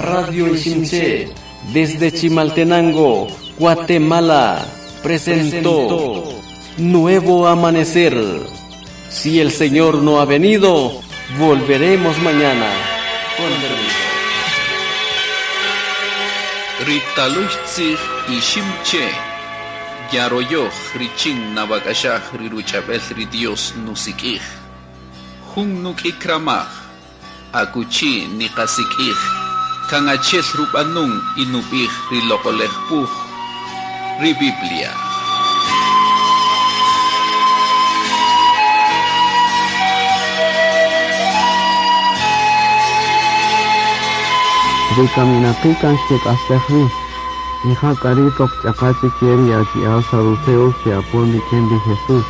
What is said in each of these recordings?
Radio Iximché, desde Chimaltenango, Guatemala, presentó Nuevo Amanecer. Si el Señor no ha venido, volveremos mañana. Con permiso. Ritaluxtzij Iximché, Yaroyoj richin nawak'axaj ri ruch'ab'el ri Dios nusik'ij. Jun nuk'ikramaj, akuchi niqasik'ij, kan achi'el rub'anun y nub'ij ri loq'olej wuj, ri Biblia. Ri kaminaqi' kan xkek'astej wi, y ja k'a ri' toq ch'aqa chik ye ri achi'a' saduceos xe'apon rik'in ri Jesús.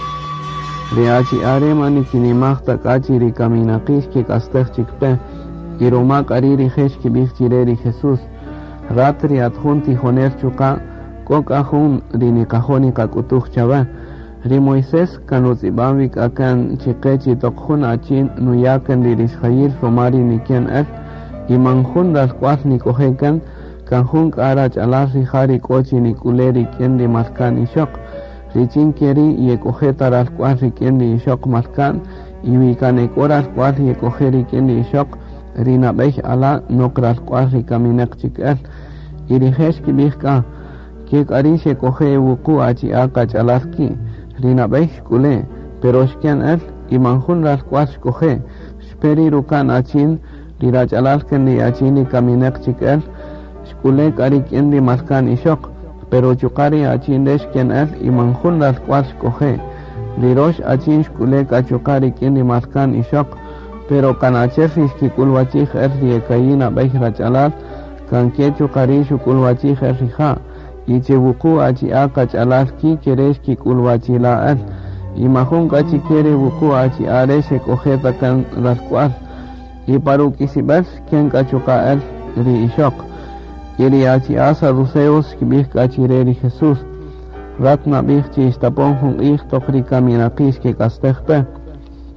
Ri achi'a' re' man nikinimaj ta k'a chi ri kaminaqi' xkek'astej chik pe, y ruma k'a ri' rije' xkib'ij chi re ri Jesús: Rat ri at jun tijonel chuqa' k'o k'a jun ri niqajo' niqak'utuj chawe. Ri Moisés kan rutz'ib'an wi k'a kan chiqe chi toq jun achin nuya' kan ri rixjayil ruma ri niken el, y man jun ralk'wal nik'oje' kan, kan jun k'a rach'alal rija' ri k'o chi nik'ule' rik'in ri malka'n ixöq, richin ke ri' yek'oje' ta ralk'wal rik'in ri ixöq malka'n, y wi kan e k'o ralk'wal yek'oje' rik'in ri ixöq, ri nab'ey ala' nok ralk'wal ri kaminäq chik el. Y rije' xkib'ij k'a, Ke k'a ri' xek'oje' e wuqu' achi'a' qach'alal ki', ri nab'ey xk'ule', pero xken el y man jun ralk'wal xk'oje', xpe ri ruka'n achin, ri rach'alal kan ri achin ri kaminäq chik el, xk'ule' k'a rik'in ri malka'n ixöq, pero chuqa' ri achin re' xken el y man jun ralk'wal xk'oje'. Ri rox achin xk'ule' k'a chuqa' rik'in ri malka'n ixöq, pero kan achi'el ri xkik'ulwachij el ri e ka'i' nab'ey rach'alal, kan ke chuqa' ri' xuk'ulwachij el rija', y che wuqu' achi'a' qach'alal ki' ke re' xkik'ulwachila' el, y majun k'a chike re wuqu' achi'a' re' xek'oje' ta kan ralk'wal. Y pa ruk'isib'el xken k'a chuqa' el ri ixöq. Y ri achi'a' saduceos xkib'ij k'a chire ri Jesús, Rat nab'ij chi xtapon jun q'ij toq ri kaminaqi' xkek'astej pe.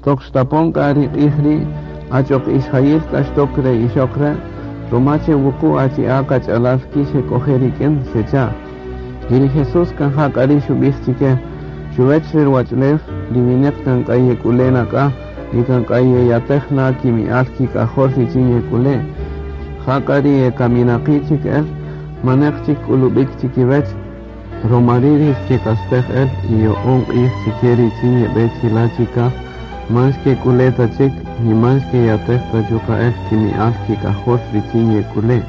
Toq xtapon k'a ri q'ij ri', achoq ixjayil k'a xtok re ixöq re', ruma che wuqu' achi'a' qach'alal ki' xek'oje' rik'in, xecha'. Y ri Jesús kan ja k'a ri' xub'ij chike, Chuwech re ruwach'ulew, ri wineq kan k'a yek'ule' na k'a, y kan k'a yeyatej na kimi'al kik'ajol richin yek'ule'. Jak'a ri e kaminaqi' chik el, maneq chik k'ulub'ik chikiwech, roma ri' ri xkek'astej el y yo'on q'ij chike richin yeb'e chila' chikaj, man xkek'ule' ta chik, ni man xkeyatej ta chuqa' el kimi'al kik'ajol richin yek'ule'.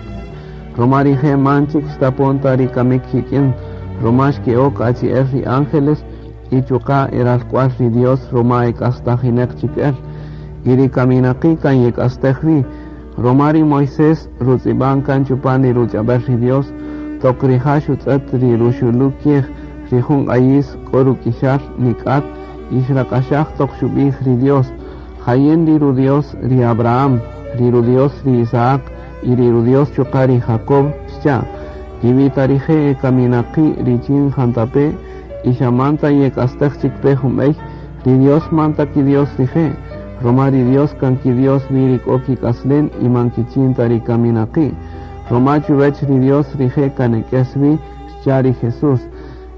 Roma rije' man chik xtapon ta ri kamik kik'in, roma xke'ok achi'el ri ángeles y chuqa' e ralk'ual ri Dios roma e k'astajineq chik el. Y ri kaminaqi' kan yek'astej wi, roma ri Moisés rutz'ib'an kan chupan ri ruch'ab'el ri Dios, toq rija' xutz'et ri ruxulu kiej ri jun q'ayis k'o ruk'ixal nik'at y xrak'axaj toq xub'ij ri Dios, Ja yin ri ru-Dios ri Abraham, ri ru-Dios ri Isaac y ri ru-Dios chuqa' ri Jacob, xcha'. Y wi ta rije' e kaminaqi' richin jantape' y xa man ta yek'astej chik pe jun bey, ri Dios man ta ki-Dios rije', roma ri Dios kan ki-Dios wi ri k'o kik'aslen y man kichin ta ri kaminaqi'. Roma chuwech ri Dios rije' kan e k'es wi, xcha' ri Jesús.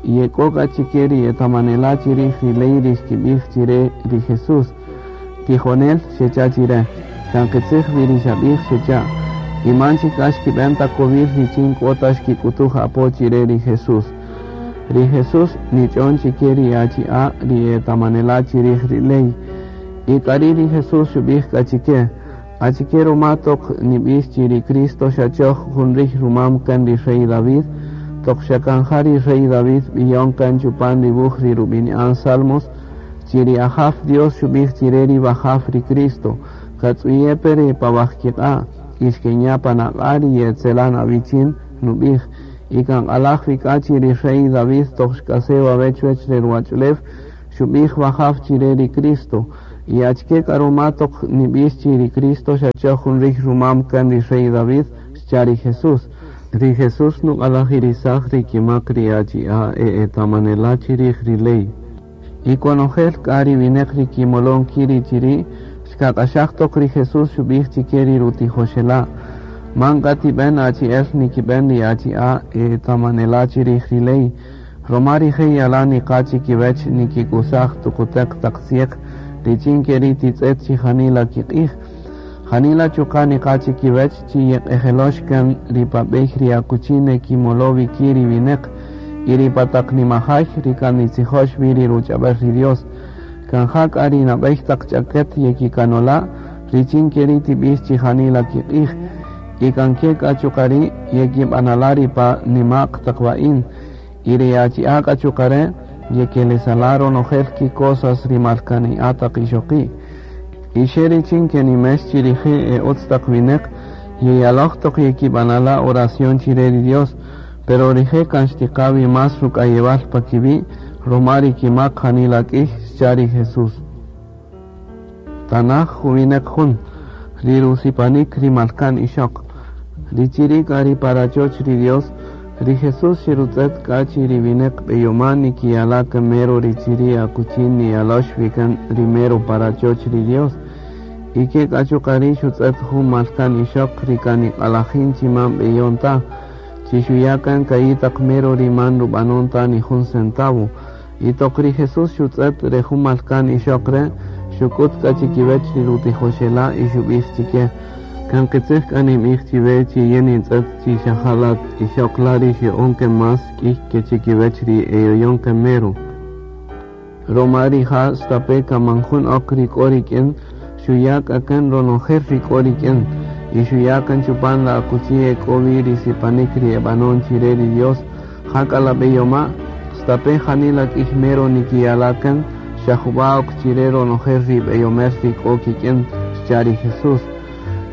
Y ek'o k'a chike ri etamanela' chirij ri ley ri xkibij chire ri Jesús, Tijonel, xecha' chire, kan qitzij wi ri xabij, xecha'. Y man chik k'a xkiben ta kowil richin k'o ta xkik'utuj apo chire ri Jesús. Ri Jesús nich'on chike ri achi'a' ri etamanela' chirij ri ley. Y k'ari' ri Jesús xubij k'a chike, Achike ruma toq nib'ix chi ri Cristo xa choj jun riy rumam kan ri rey David? Toq xa kan ja ri rey David b'iyon kan chupan ri wuj ri rub'ini'an Salmos, chi ri Ajaw Dios xub'ij chire ri Wajaw ri Cristo, Katz'uye' pe ri pa wajkiq'a' y xkenya' pan aq'a' ri ye'etzelan awichin, nub'ij. Y kan q'alaj wi k'a chi ri rey David toq xk'ase' wawe' chuwech re ruwach'ulew, xub'ij Wajaw chire ri Cristo. Y achike k'a ruma toq nib'ix chi ri Cristo xa choj jun riy rumam kan ri rey David? xcha' ri Jesús. Ri Jesús nuq'alajirisaj ri kimak ri achi'a' e etamanela' chirij ri ley. Y konojel k'a ri wineq ri kimolon ki' ri chiri', xkak'axaj toq ri Jesús xub'ij chike ri rutijoxela', Man k'a tib'en achi'el nikib'en ri achi'a' etamanela' chirij ri ley, roma rije' yalan niqa' chikiwech nikikusaj tukuteq taq tzieq richin keri' titz'et chi janila kiq'ij. Janila chuqa' niqa' chikiwech chi yeq'ejelox kan ri pa b'ey ri akuchi nekimolo wi ki' ri wineq y ri pa taq nimajay ri kan nitzijox wi ri ruch'ab'el ri Dios. Kan ja k'a ri nab'ey taq ch'aket yekikanola' richin keri' tib'ix chi janila kiq'ij. Y kan ke k'a chuqa' ri' yekib'anala' ri pa nima'q taq wa'in. Y ri achi'a' k'a chuqa' re' yekelesala' ronojel kicosas ri malkani'a' taq ixoqi'. Y xe richin kenimex chi rije' e utz taq wineq, yeyaloj toq yekib'anala' oración chire ri Dios, pero rije' kan xtiqa wi más ruk'ayewal pa kiwi' roma ri kimak janila k'ij, xcha' ri Jesús. Tanaj juwineq jun, ri rusipanik ri malkan ixoq. Ri chiri' k'a ri pa rachoch ri Dios, ri Jesús xerutz'et k'a chi ri wineq b'eyoma' nikiyala' kan mero ri chiri' akuchi niyalox wi kan ri mero pa rachoch ri Dios. Y ke k'a chuqa' ri' xutz'et jun malkan ixoq ri kan niq'alajin chi man b'eyon ta, chi xuya' kan ka'i' taq mero ri man rub'anon ta ni jun centavo. Y toq ri Jesús xutz'et re jun malkan ixoq re', xuk'ut k'a chikiwech ri rutijoxela' y xub'ij chike, Kan qitzij k'a ninb'ij chiwe chi yin nintz'et chi xa ja la ixoq la' ri xe'on kan más k'iy ke chikiwech ri eyoyon kan mero. Roma rija' stape' kan man jun ok ri k'o rik'in, xuya' k'a kan ronojel ri k'o rik'in, y xuya' kan chupan la akuchi ek'o-wi ri sipanik ri e banon chire ri Dios. Jak'a la beyoma', stape' janila k'iy mero nikiyala' kan, xa juba' ok chire ronojel ri beyomel ri k'o kik'in, xcha' ri Jesús.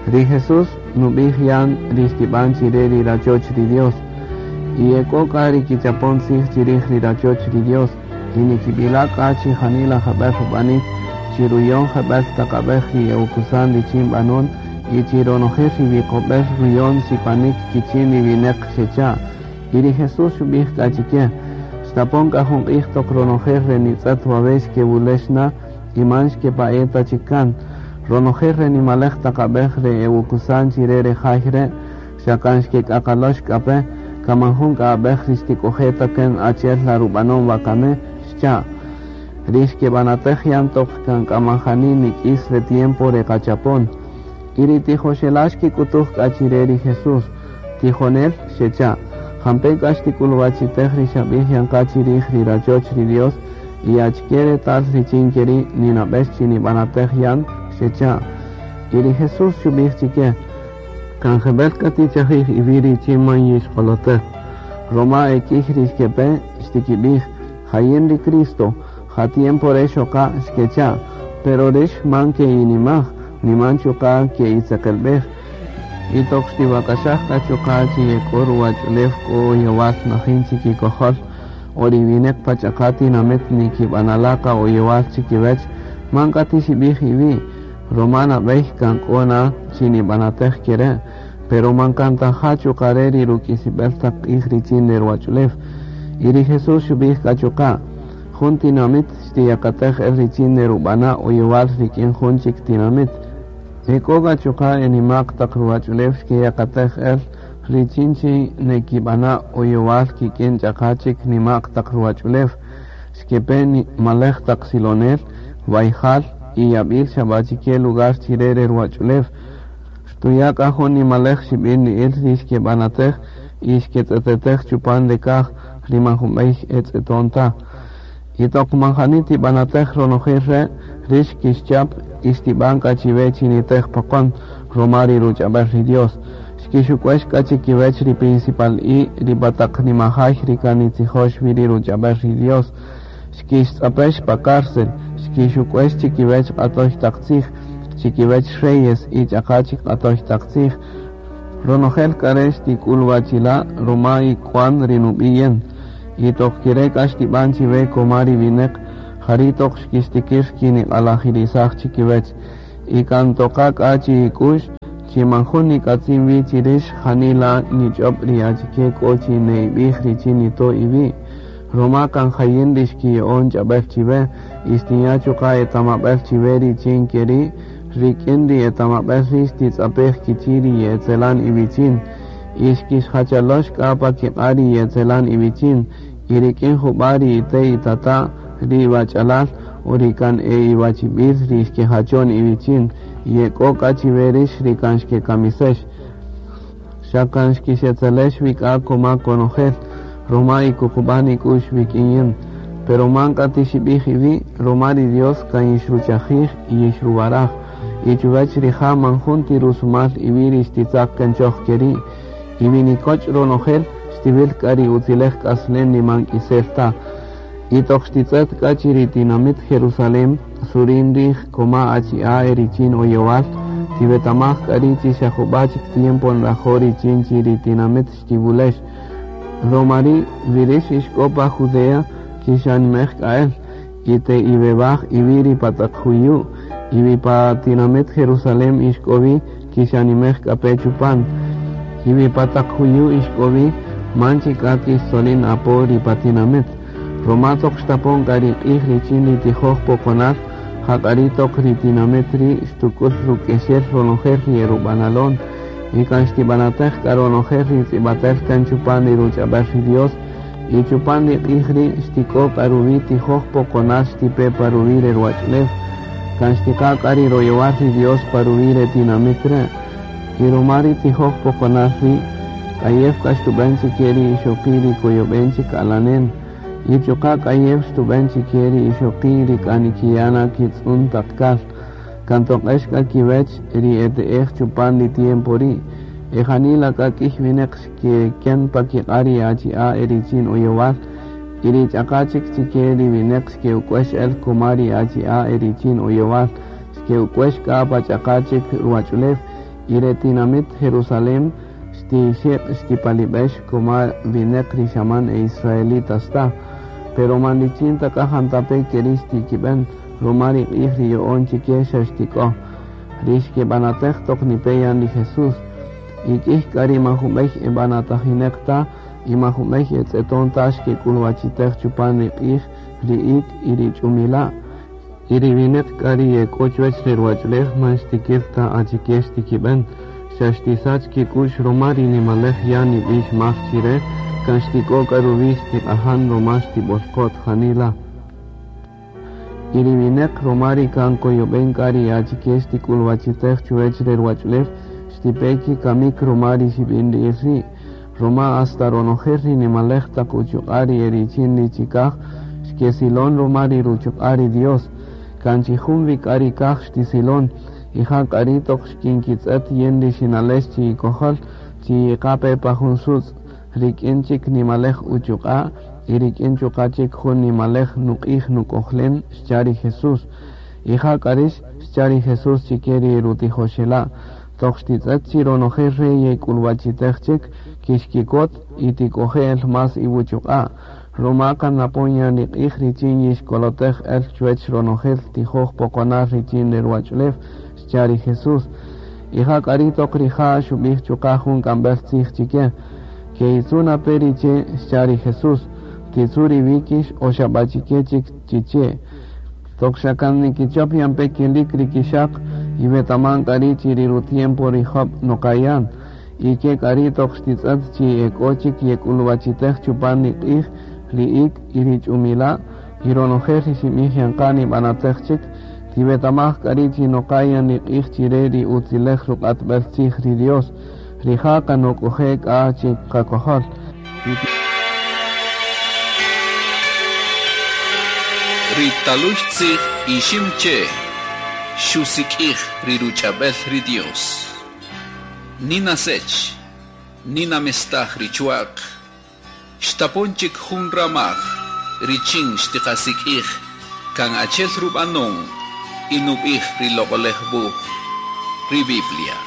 Ri Jesús nub'ij yan ri xtib'an chire ri rachoch ri Dios. Y ek'o k'a ri kichapon tzij chirij ri rachoch ri Dios, y nikib'ila' k'a chi janila jeb'el rub'anik, chi ruyon jeb'el taq ab'ej ri e'ukusan richin b'anon, y chi ronojel ri wiqob'el ruyon sipanik kichin ri wineq, xecha'. Y ri Jesús xub'ij k'a chike, Xtapon k'a jun q'ij toq ronojel re nitz'et wawe' xkewulex na y man xkepa'e' ta chik kan. Ronojel re nimalej taq ab'ej re ewukusan chire re jay re', xa kan xkek'aqalox k'a pe, kan man jun k'a ab'ej ri xtik'oje' ta kan achi'el la rub'anon wakami, xcha'. Ri xkeb'anatej yan toq kan k'a man jani nik'is re tiempo re qachapon. Y ri tijoxela' xkik'utuj k'a chire ri Jesús, Tijonel, xecha', jampe' k'a xtik'uluwachitej ri xab'ij yan qa chirij ri rachoch ri Dios y achike retal richin keri' ninab'ex chi nib'anatej yan? Xecha'. Y ri Jesús xub'ij chike, Kan jeb'el k'a tichajij iwi' richin man yixq'olotej, roma e k'iy ri xkepe, xtikib'ij, Ja yin ri Cristo, ja tiempo re' xoqa', xkecha'. Pero rix man ke'inimaj, ni man chuqa' ke'itzeqelb'ej. Y toq xtiwak'axaj k'a chuqa' chi ek'o ruwach'ulew k'o oyowal najin chikikojol, o ri wineq pa ch'aqa' tinamit nikib'anala' qa oyowal chikiwech, man k'a tixib'ij iwi', roma nab'ey kan k'o na chi nib'anatej kere', pero man kan ta ja chuqa' re' ri ruk'isib'el taq q'ij richin re ruwach'ulew. Y ri Jesús xub'ij k'a chuqa', Jun tinamit xtiyakatej el richin nerub'ana' oyowal rik'in jun chik tinamit. Ek'o k'a chuqa' e nima'q taq ruwach'ulew xkeyakatej el richin chi nekib'ana' oyowal kik'in ch'aqa' chik nima'q taq ruwach'ulew. Xkepe nimalej taq silonel, wayjal y yab'il xa b'a chike lugar chire re ruwach'ulew. Xtuya' k'a jun nimalej xib'in-ri'il ri xkeb'anatej y xketz'etetej chupan re kaj ri man jun b'ey e tz'eton ta. Y toq man jani tib'anatej ronojel re', rix xkixchap y xtib'an k'a chiwe chi nitej poqon roma ri ruch'ab'el ri Dios. Xkixuk'uex k'a chikiwech ri principal-i ri pa taq nimajay ri kan nitzijox wi ri ruch'ab'el ri Dios. Xkixtz'apex pa cárcel, xkixuk'uex chikiwech q'atoy taq tzij, chikiwech reyes y ch'aqa' chik q'atoy taq tzij. Ronojel k'a re' xtik'ulwachila' roma ik'uan ri nub'i' yin. Y toq kere' k'a xtib'an chiwe koma ri wineq, jari' toq xkixtikir kiniq'alajirisaj chikiwech. Y kan toqa k'a chi'ik'u'x chi man jun nik'atzin wi chi rix janila nich'ob ri achike k'o chi ne'ib'ij richin nito' iwi', roma kan ja yin ri xkiya'on ch'ab'el chiwe y xtinya' chuqa' etamab'el chiwe richin keri' Rik'in ri etamab'el ri' xtitz'apej kichi' ri ye'etzelan iwichin. Y xkixjachalox k'a pa kiq'a' ri ye'etzelan iwichin. Y rik'in jub'a' ri ite' itata', ri iwach'alal o ri kan e iwachib'il ri xkejachon iwichin. Y ek'o k'a chiwe rix ri kan xkekamisex. Xa kan xkixetzelex wi k'a koma konojel, ruma ikuqub'an ik'u'x wik'in yin. Pero man k'a tixib'ij iwi', ruma ri Dios kan yixruchajij y yixruwaraj. Y chuwäch rija' man jun ti rusumal iwi' ri xtitzaq kan choj keri'. Y wi nikoch' ronojel, xtiwil k'a ri utzilej k'aslen ri man k'isel ta. Y toq xtitz'et k'a chi ri tinamit Jerusalén surin rij koma achi'a' e richin oyowal, tiwetamaj k'a ri' chi xa jub'a' chik tiempo nrajo' richin chi ri tinamit xtiwulex. Ruma ri' wi rix ixk'o pa Judea, kixanimej k'a el, y te'iwewaj iwi' ri pa taq juyu', y wi pa tinamit Jerusalén ixk'o wi, kixanimej k'a pe chupan. Y wi pa taq juyu' ixk'o wi, man chik k'a kixtzolin apo ri pa tinamit. Ruma toq xtapon k'a ri q'ij richin ri tijoj poqonal, ja k'a ri' toq ri tinamit ri' xtuk'ul ruk'exel ronojel ri erub'analon. Y kan xtib'anatej k'a ronojel ri tz'ib'atel kan chupan ri ruch'ab'el ri Dios, y chupan ri q'ij ri' xtik'o k'a ruwi' tijoj poqonal xtipe pa ruwi' re ruwach'ulew. Kan xtiqa k'a ri royowal ri Dios pa ruwi' re tinamit re'. Y ruma ri tijoj poqonal ri', k'ayew k'a xtub'än chike ri ixoqi' ri koyob'en chik alanen. Y chuqa' k'ayew xtub'än chike ri ixoqi' ri k'a nikiya' na kitz'un taq kal. Kan toq'ex k'a kiwech ri ete'ej chupan ri tiempo ri'. E janila k'a k'iy winäq xkeken pa kiq'a' ri achi'a' e richin oyowal. Y ri ch'aqa' chik chike ri winäq xke'uk'wex el koma ri achi'a' e richin oyowal. Xke'uk'wex k'a pa ch'aqa' chik ruwach'ulew. Y re tinamit Jerusalén xtixeq' xtipalib'ex koma winäq ri xaman e israelitas ta. Pero man richin ta k'a jantape' keri' xtikib'än, ruma ri q'ij ri yo'on chike xa xtik'o. Ri xkeb'anatej toq nipe yan ri Jesús. Y k'iy k'a ri man jun b'ey eb'anatajinäq ta y man jun b'ey etz'eton ta xkek'ulwachitej chupan ri q'ij, ri ik' y ri ch'umila'. Y ri winäq k'a ri yek'o chuwäch re ruwach'ulew man xtikïr ta achike xtikib'än. Xa xtisach kik'u'x ruma ri nimalej ya' nib'ix mar chi re, kan xtik'o k'a ruwi' xtiq'ajan ruma xtib'olqot janila. Y ri winäq ruma ri kan koyob'en k'a ri achike xtik'ulwachitej chuwäch re ruwach'ulew, xtipe kikamik ruma ri xib'inri'il ri'. Ruma hasta ronojel ri nimalej taq uchuq'a' ri e richin ri chikaj, xkesilon ruma ri ruchuq'a' ri Dios. Kan chi jun wi k'a ri kaj xtisilon, y ja k'a ri' toq xkinkitz'ët yin ri xinalex chi ikojol, chi yiqa pe pa jun sutz', rik'in chik nimalej uchuq'a' y rik'in chuqa' chik jun nimalej nuq'ij nuk'ojlen, xcha' ri Jesús. Y ja k'a rix, xcha' ri Jesús chike ri rutijoxela', toq xtitz'ët chi ronojel re' yek'ulwachitej chik, kixkikot y tik'oje' el más iwuchuq'a'. Ruma kan napon yan ri q'ij richin yixkolotej el chuwäch ronojel tijoj poqonal richin re ruwach'ulew, xcha' ri Jesús. Y ja k'a ri' toq rija' xub'ij chuqa' jun k'amb'el tzij chike. Ke'itzu' na pe ri che', xcha' ri Jesús. Titzu' ri wíkix o xa b'a chike chik chi che'. Toq xa kan nikichop yan pe kilik ri kixaq, y wetaman k'a ri' chi ri rutiempo ri jöb' noqayan. Y ke k'a ri' toq xtitz'ët chi ek'o chik yek'ulwachitej chupan ri q'ij, ri ik' y ri ch'umila', y ronojel ri xinb'ij yan qa nib'anatej chik, tiwetamaj k'a ri' chi noqayan ri q'ij chi re ri utzilej ruq'atb'el tzij ri Dios. Rija' kan nok'oje' k'a chi qakojol. Ri talux tzij Iximche' xusik'ij ri ruch'ab'el ri Dios. Nina sech, nina mestaj ri chwa'q, xtapon chik jun ramaj richin xtiqasik'ij kan achi'el rub'anon y nub'ij ri Loq'olej Wuj, ri Biblia.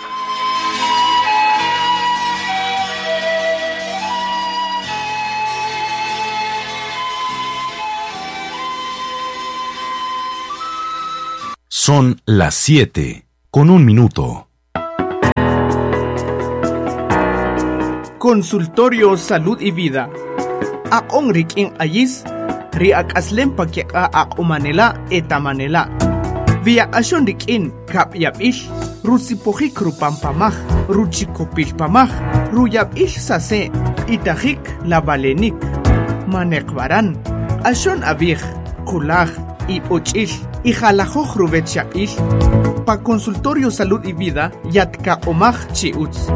Son las 7:01. Consultorio Salud y Vida. Aq'on rik'in q'ayis, ri ak'aslem pa kiq'a' aq'umanela' etamanela'. Viyaq'axon rik'in kab'yab'il, rusipojik rupampamaj, ruchikopilpamaj, ruyab'il sase, itajik labalenik, maneqbaran, q'axon abij, qulaj, ib'och'il, ijalajoj ruwech yab'il. Pa consultorio Salud y Vida, yatkaq'omaj chi utz.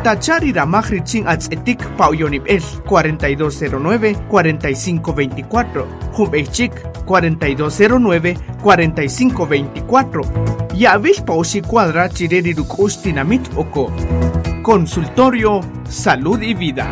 Tachari ramaj richin atz'etik pa oyonib'el 4209-4524, Jumb'eychik 4209-4524. Yab'il pa oxi cuadra chireri ruk'ux tinamit oko. Consultorio Salud y Vida.